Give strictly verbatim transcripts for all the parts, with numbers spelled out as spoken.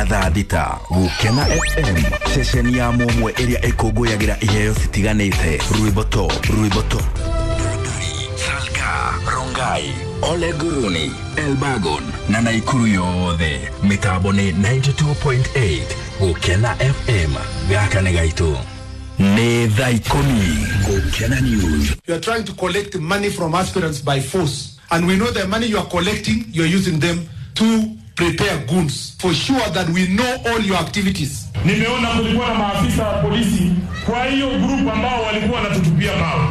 nginya thaa thita. Gukena F M, ceceni ya mũmwe ĩrĩa ĩkũngũyagĩra iheo citiganĩte. Rwĩmbo to, rwĩmbo to. Salga, Rongai, Ole Guruni, Elbagon na Naikuru yothe. Mĩtambo nĩ ninety-two point eight. Gukena F M, gaka nĩ gaitũ. Nĩ thaa ikũmi. Gukena News. You are trying to collect money from aspirants by force. And we know the money you are collecting, you are using them to prepare goons. For sure that we know all your activities. Nimeona kulikuwa na maafisa wa polisi kwa hiyo group ambao walikuwa wanatutupia mawe.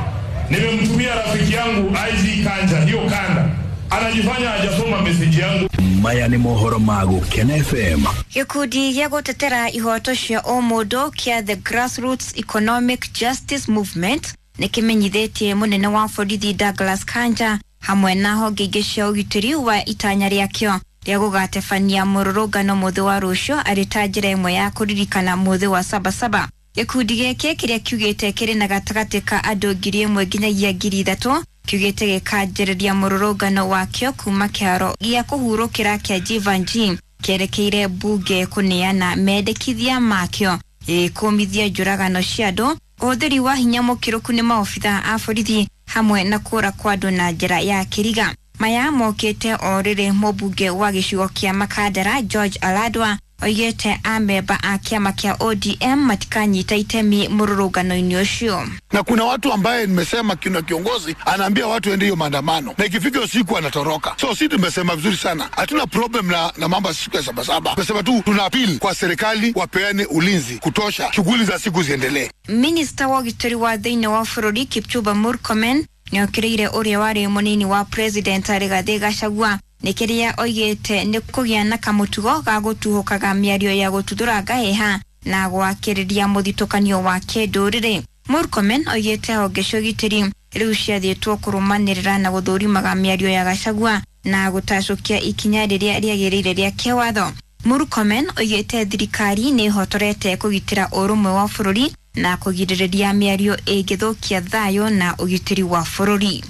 Nimemtumia rafiki yangu I G Kanja, hiyo kanda. Anajifanya hajasoma message yangu. Maya ni mohoro ma Gukena F M. Gikundi gĩa gũtetera ihoto cia ũmũndũ kĩa The Grassroots Economic Justice Movement nĩ kĩmenyithĩtie mũnene wa borithi Douglas Kanja hamwe na honge ingĩ cia ũgitĩri wa itanya rĩakĩo rĩa gũgatebania mũrũrũngano mũthĩ wa rũciũ arĩ ta njĩra ĩmwe ya kũririkana mũthĩ wa Sabasaba. Gĩkundi gĩkĩ kĩrĩa kiugĩte kĩrĩ na gatagatĩ ka andũ ngiri ĩmwe nginyagia ngiri ithatũ kiugĩte gĩkanjĩrĩria mũrũrũngano wakĩo kuma kĩharo gĩa kũhurũkĩra kĩa Jeevanjee kĩerekeire mbunge kũneana mendekithia makĩo gĩkũmithia njũragano cia andũ, ũhũthĩri wa hinya mũkĩrũku nĩ maobitha a borithi hamwe na kũra kwa andũ na njĩra ya kĩriga. Maya mokĩte o rĩrĩ mũmbunge wa gĩcigo kĩa Makandara George Aladwa oigĩte amemba a kĩama kĩa O D M matikanyita itemi mũrũrũngano-inĩ ũcio. Na kuna watu ambaye nimesema kuna kiongozi anaambia watu waende hiyo maandamano na ikifika usiku anatoroka. So sisi tumesema vizuri sana, hatuna problem na, na mambo ya siku ya Sabasaba. Tumesema tu tuna appeal kwa serikali wapeane ulinzi kutosha, shughuli za siku ziendelee. Minister wa ũgitĩri wa thĩinĩ wa bũrũri Kipchumba Murkomen nĩokĩrĩire ũrĩa warĩ mũnini wa President Rigathi Gachagua nĩ kĩrĩa oigĩte nĩ kũgĩa na kamũtugo ga gũtuhũkaga mĩario ya gũtuthũra ngaheha na gwakĩrĩria mũthitũkanio wa kĩndũrĩrĩ. Murkomen oigĩte honge cia ũgitĩri rĩu ciathĩtwo kũrũmanĩrĩra na gũthũrimaga mĩario ya Gachagua na gũtacũkia ikinya rĩrĩa rĩagĩrĩire rĩa kĩwatho. Murkomen oigĩte thirikari nĩ ĩhotorete kũgitĩra ũrũmwe wa bũrũri na kũgirĩrĩria mĩario ĩngĩthũkia thayũ na ũgitĩri wa bũrũri.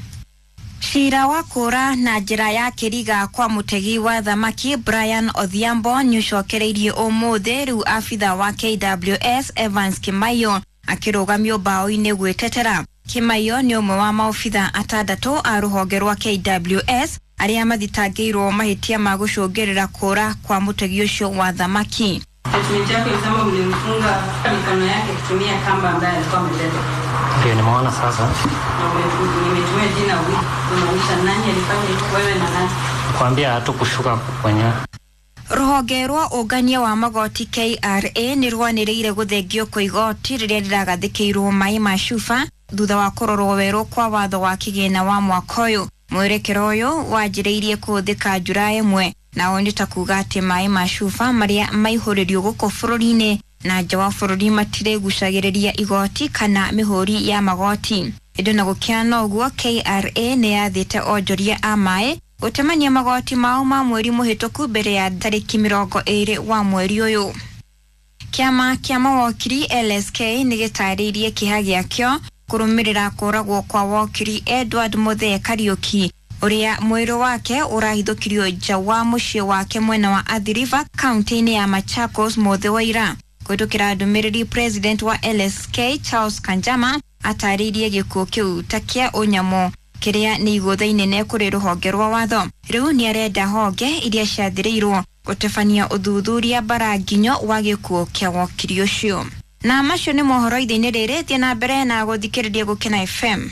Cira wa kũra na njĩra ya kĩriga kwa mũtegi wa thamaki Brian Odhiambo nĩũcokereirie ũmũthĩ rĩu abitha wa K W S Evans Kimaiyo akĩrũgamio mbaũ-inĩ gwĩtetera. Kimaiyo nĩ ũmwe wa maobitha atandatũ a rũhonge rwa K W S arĩa mathitangĩirwo mahĩtia ma gũcũngĩrĩra kũra kwa mũtegi ũcio wa thamaki. Statement yake ilisema mlimfunga mikono yake kutumia kamba ambayo alikuwa amebeba. Ndio nimeona sasa. Na nimetumia jina huyu kumaanisha nani alifanya hivyo, wewe na nani? Kuambia hatukushuka kwenye Rũhonge rwa ũngania wa magoti K R A nĩ rwanĩrĩire gũthengio kwa igoti rĩrĩa rĩragathĩkĩirwo maĩ ma cuba thutha wa kũrorwo werũ kwa watho wa kĩgĩna wa mwaka ũyũ. Mwerekero ũyũ wanjĩrĩirie kũhũthĩka Njura ĩmwe nao nĩ ta kuga atĩ maĩ ma cuba marĩa maihũrĩrio gũkũ bũrũri-inĩ na nja wa bũrũri matirĩgucagĩrĩria igoti kana mĩhũri ya magoti. Ĩndĩ na gũkĩana ũguo, K R A nĩ yathĩte onjoria a maĩ gũtemania magoti mao ma mweri mũhĩtũku mbere ya tarĩki mĩrongo ĩrĩ wa mweri ũyũ. Kĩama kĩa mawokiri L S K nĩ gĩtarĩirie kĩeha gĩakĩo kũrũmĩrĩra kũragwo kwa wokiri Edward Muthee Kariuki ũrĩa mwĩrĩ wake ũrahithũkirio nja wa mũciĩ wake mwena wa Athi River kaunti-inĩ ya Machakos mũthĩ wa ira. Kũhĩtũkĩra ndũmĩrĩri, President wa L S K Charles Kanjama atarĩirie gĩkuũ kĩu ta kĩa ũnyamũ kĩrĩa nĩ igũtha inene kũrĩ rũhonge rwa watho. Rĩu nĩ arenda honge iria ciathĩrĩirwo gũtabania ũthuthuria bara nginyo wa gĩkuũ kĩa wokiri ũcio. Na macio nĩ mohoro ithe-inĩ rĩrĩ, thiĩ na mbere na gũthikĩrĩria Gukena F M.